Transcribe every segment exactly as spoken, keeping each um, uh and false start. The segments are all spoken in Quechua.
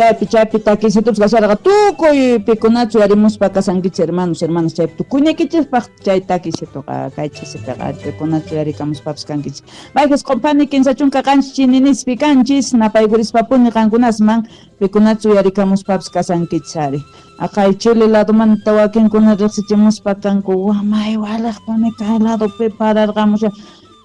Chaypi chaypi takisitupas kasharqa tukuy pikunachu yarimuspa kasankichis hermanos, hermanas, chaypi tukuynikichispaq chay takisituqa kay ch'isipiqa pikunachu yarikamuspapas kankichis. Mayqis q'umpani kinsa chunka qanchis chininispi kanchis napaykurispa-puni qankunasman pikunachu yarikamuspapas kasankichis ari. Aqay Chile ladomanta wakinkuna riqsichimuspa kanku wamay waliqpuni kay ladopi pararqamushan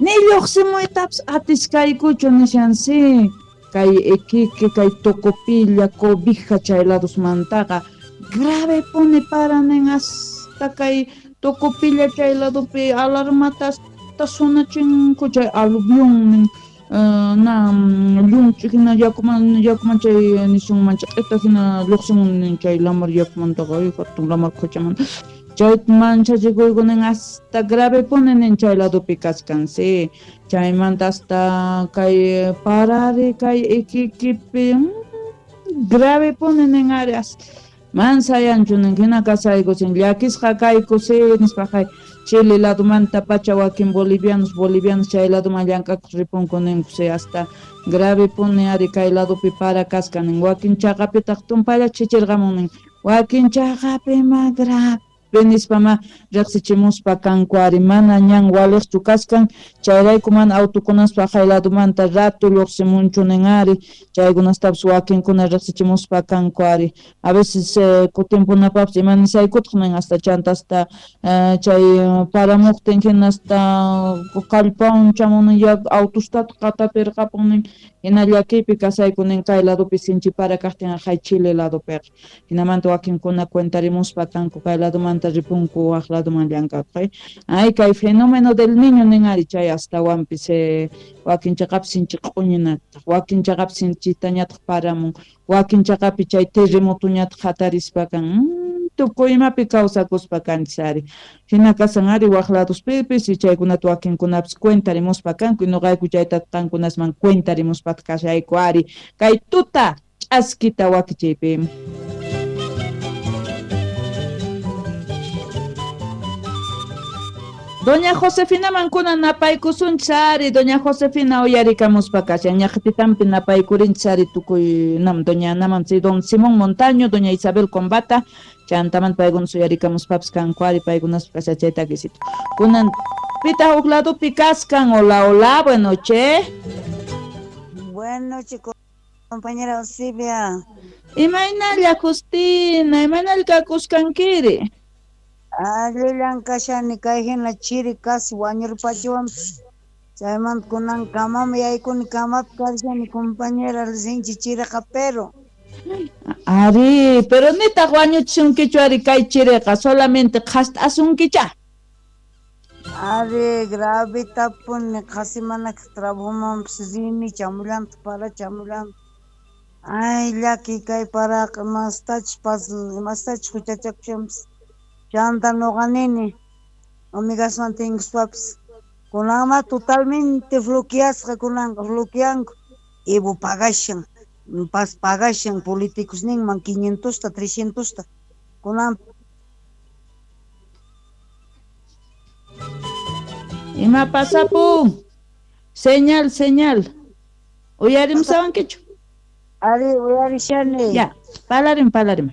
ni lluqsimuytapas atiskaykuchu nishansi. Kay Iquique, kay Tocopilla, Cobija chay ladosmantaqa grave puni paranin hasta kay Tocopilla chay ladopi alarmata hasta sonachinku chay aluvión nin uh, na llunch'i hina yakuman yakuman chay nisunman ch'ita hina lluqsimun nin chay lamar yakumantaqa hatun lamar quchamanta chay manchachikuykunin hasta grave puni nin chay ladopi kachkan sí. Chaymanta hasta kay parari kay Iquiquepi mm, grave puni nin ari mansayanchu nin hina kasayku sin llakisqa kayku sí nispa kay Chile ladomanta pacha wakin bolivianos bolivianos chay ladoman llank'akuq ripunku ninku sí hasta grave puni ari kay ladopi para kasqa nin wakin chaqapitaq tumpalla chichirqamun nin wakin chaqapi ma grave nispa ma riqsichimuspa kanku ari mana ñan waliqchu kaskan chayrayku mana autokunaspa kay ladomanta rato lluqsimunchu nin ari chaykunastapas wakinkuna riqsichimuspa kanku ari a veces eh, kutinpunapaqpas ima nisaykutaq nin hasta chanta hasta eh, chay paramuqtin hina hasta kallpawan chamun ya autostataq qatapirqapun nin hina llakiypi kasayku nin kay ladopi sinchi para kaqtin kay Chile ladopiqa hinamanta wakinkuna cuentarimuspa kanku kay ladomanta ripunku waq ladoman llank'akuq ay kay fenómeno del niño nin ari chay astawanpis eh, wakin chaqapi sinchi q'uñinataq wakin chaqapi sinchitañataq paramun wakin chaqapi chay terremotoñataq hatarispa kan mm, tukuy imapi kawsakuspa kanchis ari hina kasan ari waq ladospipis y chaykunata wakinkunapis cuentarimuspa kanku y nuqayku chayta qankunasman cuentarimuspa kashayku ari kay tuta ch'askita wakichiypi. Doña Josefina mankuna napaykusunchis ari, Doña Josefina uyarikamuspa kashan, ñaqtitampi napaykurinchis ari tukuy nam doña Anaman, si don Simón Montaño, doña Isabel Combata, chantamanta paykunas uyarikamuspapas kanku ari, paykunas kashan chay takisito. Kunan pita huk ladopi kaskan, hola, hola, buenas noches. Buenas noches, compañera Silvia. Imaynalla Justina, imaynalla kakusqankiri? Allillan kashani kay hina chiri casi wañurpachiwanpas chaymanta kunan kamam yaykuni kamapi kashani compañera sinchi chiriqa pero ari pero nitaq wañuchisunkichu ari kay chiriqa solamente qhast'asunkicha ari grave tapuni qhasi mana trabajomanpas rini chamullantaq para chamullantaq ay llaki kay paraqa mastachus pas mastachus huchachakushanpas chanta nuqa nini amigaswan tinkuspapas kunanma totalmente bloqueasqa kunanqa bloqueanku Evo pagashan pas pagashan políticos ninman quinientosta trescientosta kunan ima pasapun señal señal uyarimusawankichu ari uyarishani ya palarim palarim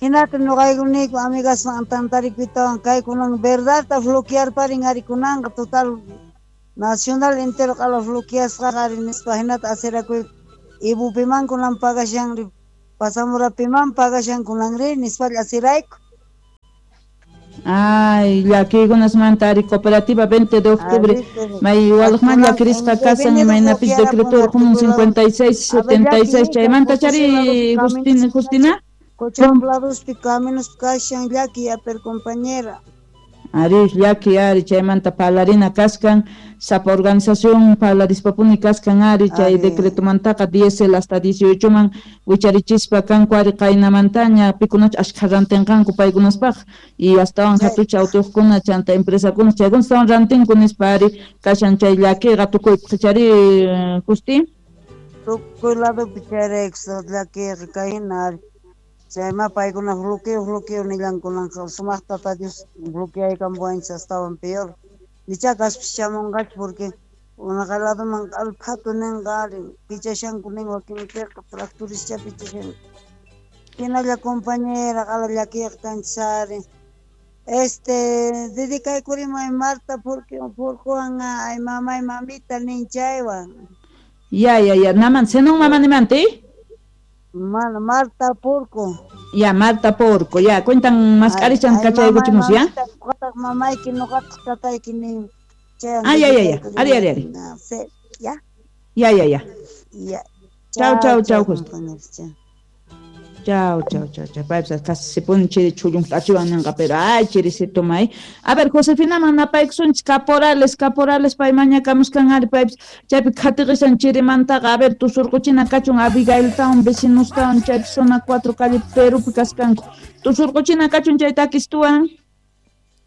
hinata nuqaykuniyku amigaswan tantarikuytawan kay kunan verdadta bloquearparin ari kunanqa total nacional entero q'ala bloqueasqa ari nispa hinata asirakuy Evo piman kunan pagashan pasamura piman pagashan kunanri nispalla asirayku. Ay, llakiykunasmanta ari cooperativa veinte de octubre may walaqman llakirisqa kasan imaynapis decreto urqumun cincuenta y seis setenta y seis chaymanta chari Justina Justina Cochabambladospi caminos kashan llaki aper compañera. Ari llaki ari chaymanta parlarina kaskan sapa organización parlarispapuni kaskan ari chay decretomantaqa diésel hasta dieciocho man wicharichispa kanku ari qaynamantaña pikunach ashkha rantinqanku paykunaspaq y astawan hatucha autoqkuna chanta empresakuna chaykuna astawan rantinku nispa ari kashan chay llakiqa tukuypaq chari Justi tukuy ladopi chayrayku llakiqa kayhina ari chayma paykuna bloqueo bloqueo nillankunanqa sumaqta Tata Dios bloqueaykampuwanchis astawan peor nicha kaspis chamunqachu porque Unaqa ladoman alphatu ninqa ari pichashanku nin wakinpiqa tractorischa pichashanku. Hinalla compañera qala llakiyqa kanchis ari. Este, dedicaykurimay Marta porque Purkuwan ay mamay mamita nin chaywan. Ya, ya, ya. Naman, senón mamá nimanti? Mana, Marta Purco. Ya, Marta Porco, ya. Cuentan más carichan kachaykuchimus, ya. Nuqataq mamayki nuqataq tatayki nin. Chaywan Ah, ya, ya, ya. Ari, ari, ari. Ya. Ya, ya, ya. Ya. Chau, chau, chau, justo. Compañeros, chau. Chau, chau, chau, chau. Paypas casi se pone chiri chullun achiwan ninqa, pero ay, chirisito may. A ver, Josefina manapaykusunchis caporales, caporales pay mañakamuskan ari paypis chaypi khatiqisan chirimantaqa. A ver, tusurquchina kachun Abigailtawan vecinostawan chaypi zona cuatro calle Perupi kaskanku. Tusurquchina kachun chay takistuwan.